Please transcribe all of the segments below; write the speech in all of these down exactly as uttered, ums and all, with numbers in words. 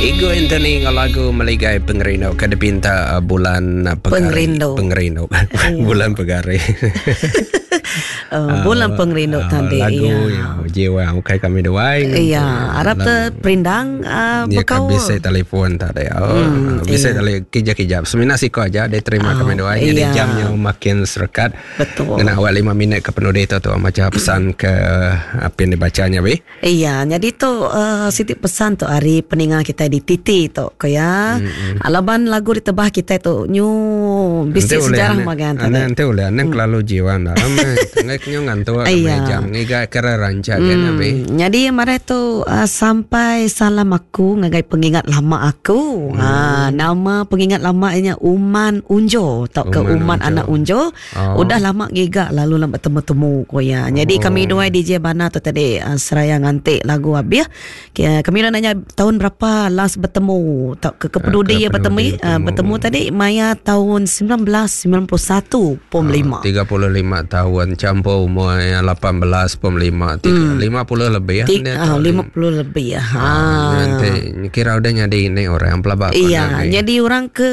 Igo Anthony ngau lagu Meligai Pengerindu ke dipinta uh, bulan uh, Pegari. Pengerindu. Pengerindu. Bulan Pegari. Uh, bulan Pengerindu uh, tadi. Lagu ya. Jiwa ukai kami dua. Iya, harap te perindang uh, Dia kan bekau. bisa telefon tadi. Oh, Hmm, bisa iya. tele kijap-kijap. Semina siko aja dia terima Oh, kami dua. Jadi iya. jamnya makin serekat. Betul. Kena awal lima minit ke penudi tu tu macam pesan ke apa yang dibacanya be. Iya, jadi tu uh, siti pesan tu hari peningan kita di Titi tu ko ya. Mm-hmm. Alaban lagu ditebah kita tu nyu bisi sejarah magan tadi. Tadi. Nanti boleh ane kelalu jiwa dah. Ngai kenyo ngantuk kami Iya. jam ngiga kera rancak kan be. Hmm, jadi mari tu uh, sampai salam aku ngagai pengingat lama aku. Hmm. Ha, nama pengingat lama nya Uman Unjo atau ke Uman Uman Unjo. Anak Unjo. Oh. Udah lama giga lalu lama temu-temu ko ya. Jadi Oh. kami dua D J Bana tu tadi uh, seraya ngantik lagu habis. Kami nak nanya tahun berapa last bertemu tak ke kepedudi Ah, ya bertemu kepedudi uh, bertemu tadi maya tahun sembilan belas sembilan puluh satu pom lima. tiga puluh lima tahun campur umur yang lapan belas pom lima tiga lima puluh lebih ya. Tik, Dia ah, tahu lima puluh lebih ya. Ha. Nanti kira udah nyadi ini orang pelabak. Iya, jadi orang ke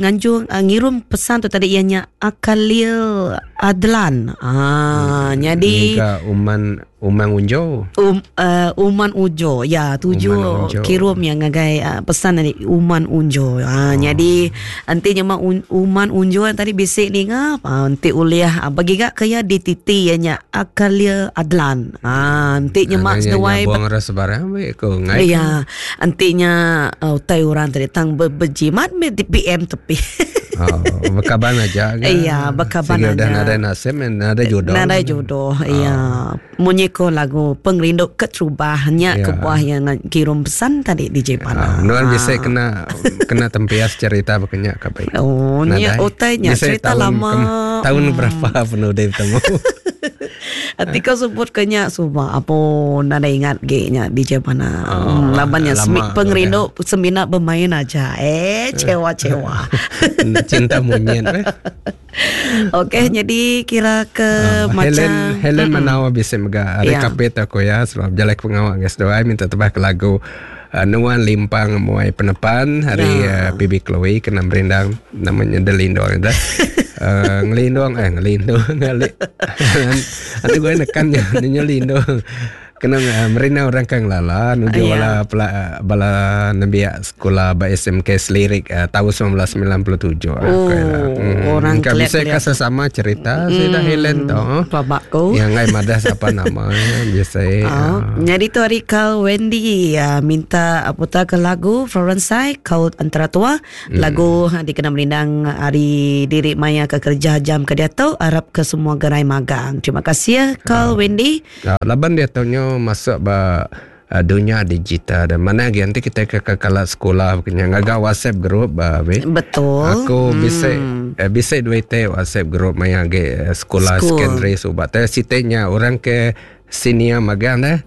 nganjung uh, ngirum pesan tu tadi ianya Akalil Adlan. Ah, hmm, jadi Nika Uman Uman Unjo. Um, uh, Uman Ujo. Ya, tujuh Uman Unjo. kirim yang ngagai uh, pesan tadi Uman Unjo. Ah, oh. Jadi nanti nyema un, Uman Unjo yang tadi bisik ni ngap, ah, nanti uliah ah, bagi gak kaya di titi ianya Akalil Adlan. Ah, nanti nyemak seduai buang rasa barang we ko ngai. Iya, antinya uh, utai orang tadi tang ber, berjimat me di P M tepi. Oh, berkaban aja kan. Iya, berkaban Sehingga udah aja. nada nasib, nada jodoh. Nada jodoh, iya. Munyi ko lagu Pengerindu Keterubahnya Ya. ke buah yang kirim pesan tadi D J Ah, Pana. nuan bisa kena kena tempias cerita berkenyak ke baik. Oh, ni utainya Bisa cerita tahun lama. kem- tahun berapa penuh dia bertemu. Ati kau sebut kenya suba apa nada ingat ge nya D J Pana. Oh, Hmm, labannya lama semi, pengerindu semina bermain aja. Eh, cewa-cewa. Cinta monyet. Eh. Okey, jadi kira ke Ah, macam Helen Helen Manawa bisa mega hari Ya. kapit aku ya sebab jalan pengawak guys doa minta tebah ke lagu uh, Nuan Limpang Muai Penepan hari Ya. uh, P B Chloe kena merindang namanya Delindong itu. Uh, ngelindong eh ngelindong ngali. Nanti gue nekannya nyelindong. Kena uh, merina orang kang lala nuju Ya. bala pela, bala nembiak sekolah ba S M K Selirik uh, tahun sembilan belas sembilan puluh tujuh. Oh, orang Kan bisa keliat-keliat. sesama cerita hmm. Sudah Helen toh. Babakku. Yang ngai madah siapa namanya biasa. Oh, jadi tu hari kau Wendy ya, minta putar ke lagu Florence Sai kau antara tua hmm. lagu dikena merindang hari diri maya ke kerja jam ke dia tu harap ke semua gerai magang. Terima kasih ya kau oh. Wendy. Uh, laban dia taunya masuk ba uh, dunia digital dan mana lagi nanti kita ke ke kelas sekolah punya ngagak WhatsApp group ba be. Betul. Aku hmm. bisa eh, bisa duit teh WhatsApp group maya ge eh, sekolah School. secondary subat. Teh sitenya orang ke senior magang dah.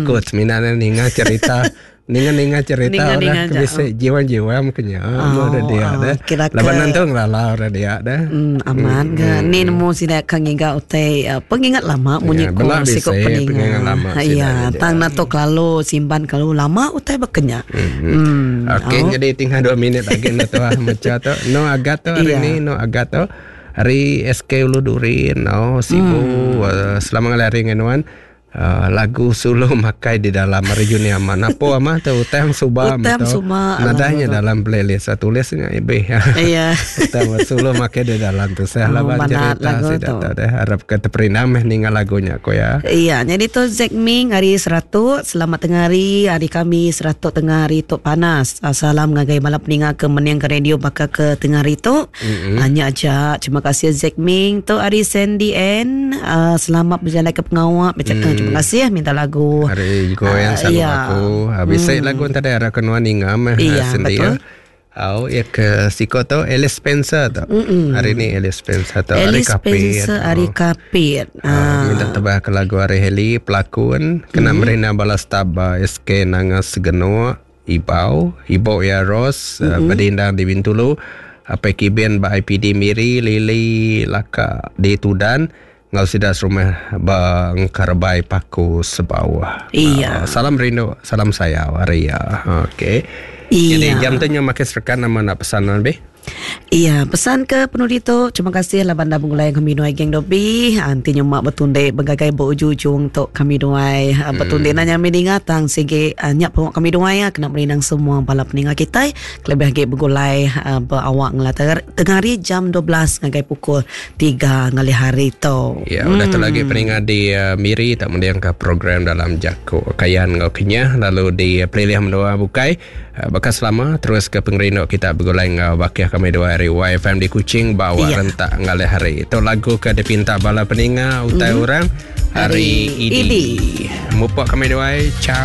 Aku semina ninga cerita ninga-ninga cerita Ninga-ninga orang ke aja. bisa jiwa-jiwa mungkin oh, ada dia oh, dah. kira ke- Laban nanti ngelala orang dia dah. Hmm, aman ke? Ni nemu sida kang ngiga utai uh, pengingat lama munyi Ya, ko belak siko bisa, peningat. pengingat lama Ha, sida Ya, aja. tang nato lalu simpan kalau lama utai bekenya. Hmm. Okey, Oh. jadi tinggal dua minit lagi nak tu ah macam tu. No agat tu hari Iya. ni no agat tu. Hari S K Ulu Durin, no Sibu hmm. uh, selama ngalari dengan nuan. Uh, lagu sulu makai di dalam hari Juni aman. Apa amah tu utang suba Utang suba, Nadanya dalam playlist saya tulisnya ibe. Iya. Utang sulu makai di dalam tu. Saya Oh, lawan manat cerita lagu saya tu. tak tahu harap ke terperindam meh ningal lagunya ko ya. Iya, jadi tu Zack Ming hari seratus, selamat tengah hari, hari kami seratus tengah hari tu panas. Ah, Salam ngagai malam peninga ke meniang ke radio bakal ke tengah hari tu. Mm-hmm. Hanya aja. Terima kasih Zack Ming tu hari Sandy N. Uh, selamat berjalan ke pengawak. Macam mm. terima kasih minta lagu. Hari goyang Ah, sama iya. aku. Habis hmm. lagu tadi ada kenuan ingam eh Iya, sendiri. betul. Au ya ke siko tu Alice Spencer tu. Mm-mm. Hari ni Alice Spencer tu. Alice Spencer hari Kapit. Ah, minta tebah ke lagu Hari Heli pelakon kena mm. merina balas taba S K Nangas Segeno Ibau Ibau ya Ros mm-hmm. uh, berdindang di Bintulu apa kiben ba I P D Miri Lili Laka di Tudan ngau sida serumah bang Karabai Paku Sebawah. Iya. Uh, salam rindu, salam sayau hari ya. Okey. Iya. Jadi jam tu nyu makin serekan nama nak pesan lebih. Iya, pesan ke penudi tu, terima kasih lah bandar menggulai kami duai geng dobi. Anti nyemak betunde begagai berujung-ujung tok kami duai. Hmm. Betunde nanya meninga tang sigi uh, nyak pengok kami duai ya kena merinang semua bala peninga kita. Kelebih lagi begulai uh, berawak ngelah tengah hari jam dua belas ngagai pukul tiga ngalih hari tu. Ya, hmm. Udah tu lagi peninga di uh, Miri tak mendiang ke program dalam Jako Kayan ngau Kenyah lalu di uh, Pelilih Menua Bukai. Uh, bekas lama terus ke pengerinduk kita begulai ngau bakih kami dua hari Y F M di Kuching bawa ya. Rentak ngalih hari. Itu lagu ke dipinta bala peninga utai mm-hmm. orang hari, hari ini. Mupok kami dua. Ciao.